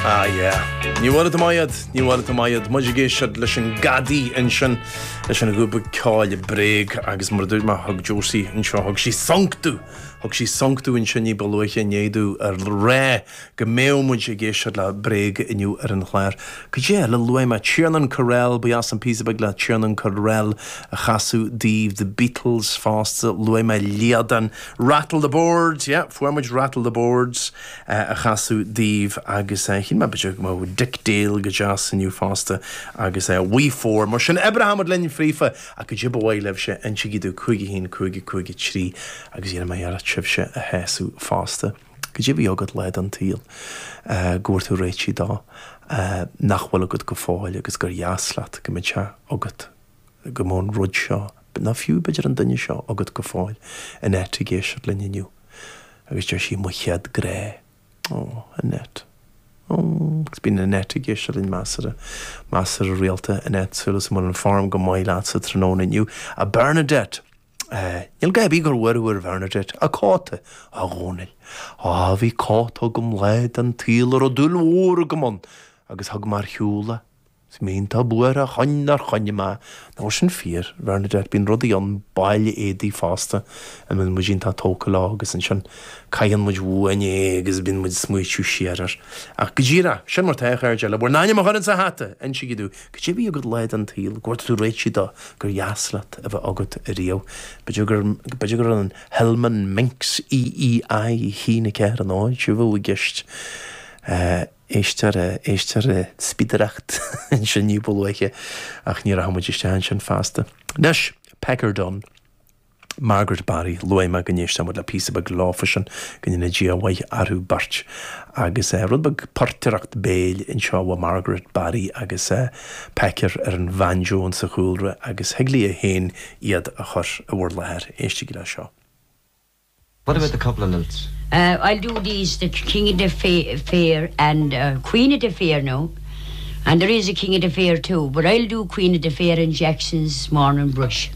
Ah yeah. Ní bhfuil tú maith iad, ní bhfuil tú maith iad. Muid ag éisteacht leis an gCadaí ansin, leis an ghrúpa ceoil Bréag agus mar a dúirt mé, thug Josie anseo, thug sí sonc domh, thug sí sonc domh ansin ní ba luaithe inné domh a rá go mbeadh muid ag éisteacht le Bréag inniu ar an chlár. Cad é eile a luaigh mé? Tiernan Carell, ba dheas an píosa beag le Tiernan Carell a chasadh daoibh, The Beatles fosta, luaigh mé Liadán, Rattle the Boards, yeah, fuair muid Rattle the Boards a chasadh daoibh agus shíl mé b'fhéidir go mbeadh Dick Dale go deas inniu fosta agus We Four. Mar sin, oibreoidh muid linn fríofa ach cad é ba mhaith libhse, insígí domh 5 1 5 5 3 agus dhéanfaidh mé iarracht sibhse a shásamh fosta. Cad é a bhí agat lá den tsaol go bhfuair tú réitithe dó nach bhfuil agat go fóill agus gur dheas leat go mbeadh sé agat, go mbeadh an rud seo, nó fiú b'fhéidir an duine seo agat go fóill, Annette ag éisteacht linn inniu agus deir sí 'mo chéad grá'. Ó, Annette. Ó, agus bíonn Annette ag éisteacht linn measartha, measartha rialta, Annette, súil agam go bhfuil an form go maith leatsa tráthnóna inniu. A Bernadette! Níl gá ar bith gur bhuail thú ar Bhernadette. A cóta, a Dhónaill. Á, bhí cóta agam lá den tsaol a raibh dúil mhór agam ann agus thug mé ar shiúl é. Is mé iontach buartha chun nár choinnigh mé. Nó sin fíor, Bhernadette, bíonn rudaí ann, baill éadaí fosta, a mbíonn muid iontach tógtha leo agus ansin caitheann muid uainn é agus bíonn muid ag smaoitiú siar air. Ach go díreach, sin mar tá, a chairde, le bhur n-ainm a chur insa hata, insígí domh, cad é a bhí agat lá den tsaol, go bhfuair tú réitithe dó, gur dheas leat a bheith agat ariamh. B'fhéidir gur, b'fhéidir gur an Hillman Minx EEI 1 4 0 a bheadh i gceist. Éistear, éistear spidireacht ansin ní ba luaithe ach ní rachaidh muid isteach ansin feasta. Anois, Pecker Dunne, Margaret Barry, luaigh mé go n-éistfeadh muid le píosa beag leofasan, go ndéana Dia a mhaith orthu beirt. Agus rud beag portaireacht béil anseo ó Margaret Barry agus Pecker ar an bhanjo insa chúlra agus thig léi féin iad a chur i bhur láthair. Éistigí le seo. What about the couple of lilts? Uh, I'll do these, the King of the Fair and uh, Queen of the Fair now. And there is a King of the Fair too, but I'll do Queen of the Fair and Jackson's Morning Brush.